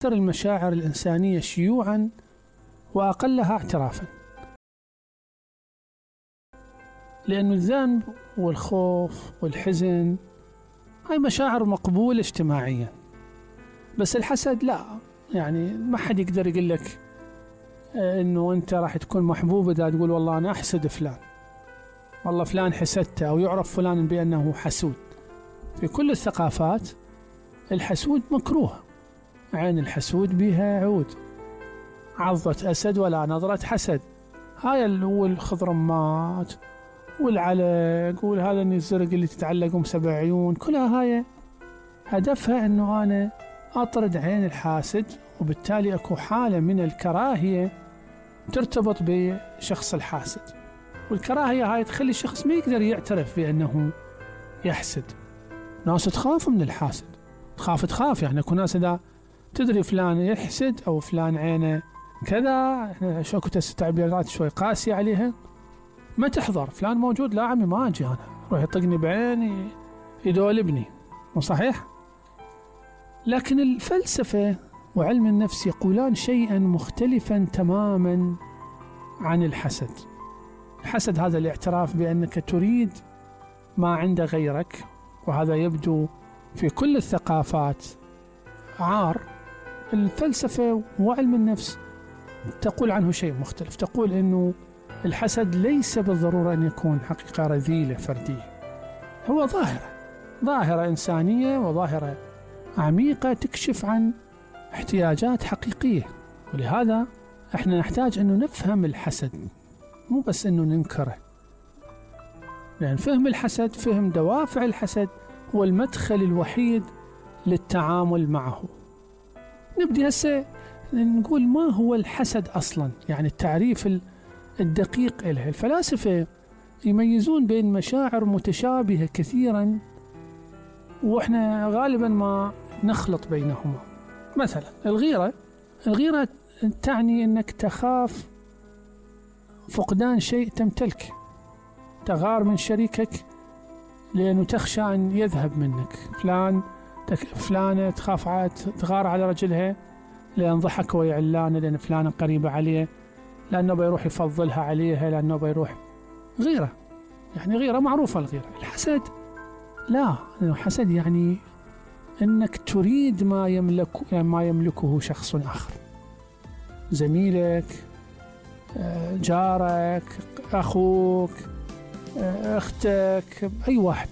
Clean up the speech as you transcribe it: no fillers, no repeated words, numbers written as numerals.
أكثر المشاعر الإنسانية شيوعا وأقلها اعترافا، لأن الذنب والخوف والحزن هاي مشاعر مقبولة اجتماعيا، بس الحسد لا، يعني ما حد يقدر يقول لك إنه أنت راح تكون محبوب إذا تقول والله أنا أحسد فلان، والله فلان حسدته، أو يعرف فلان بأنه حسود. في كل الثقافات الحسود مكروه، عين الحسود بها عود، عضة أسد ولا نظرة حسد. هاي والخضرمات والعلق وهذا الزرق اللي تتعلقهم 7 عيون، كلها هاي هدفها أنه أنا أطرد عين الحاسد، وبالتالي أكو حالة من الكراهية ترتبط بشخص الحاسد، والكراهية هاي تخلي الشخص ما يقدر يعترف بأنه يحسد. ناس تخاف من الحاسد، تخاف يعني اكو ناس إذا تدري فلان يحسد أو فلان عينه كذا، احنا شو كنت تعبيرات شوي قاسية عليها، ما تحضر فلان موجود، لا عمي ما أجي أنا، روح يطقني بعيني يدولبني، مو صحيح؟ لكن الفلسفة وعلم النفس يقولان شيئا مختلفا تماما عن الحسد. الحسد هذا الاعتراف بأنك تريد ما عند غيرك، وهذا يبدو في كل الثقافات عار. الفلسفة وعلم النفس تقول عنه شيء مختلف، تقول أنه الحسد ليس بالضرورة أن يكون حقيقة رذيلة فردية، هو ظاهرة إنسانية وظاهرة عميقة تكشف عن احتياجات حقيقية. ولهذا احنا نحتاج أنه نفهم الحسد، مو بس أنه ننكره، لأن فهم الحسد، فهم دوافع الحسد، هو المدخل الوحيد للتعامل معه. نبدأ هسه نقول ما هو الحسد أصلا، يعني التعريف الدقيق له. الفلاسفة يميزون بين مشاعر متشابهة كثيرا، وإحنا غالبا ما نخلط بينهما. مثلا الغيرة تعني أنك تخاف فقدان شيء تمتلكه، تغار من شريكك لأنه تخشى أن يذهب منك. فلانة تغار على رجلها لأن ضحك ويعلانه، لأن فلانة قريبة عليه، لأنه بيروح يفضلها عليها، لأنه بيروح غيرة، يعني غيرة معروفة. الغيرة الحسد لا، الحسد يعني أنك تريد ما يملكه شخص آخر، زميلك، جارك، أخوك، أختك، أي واحد.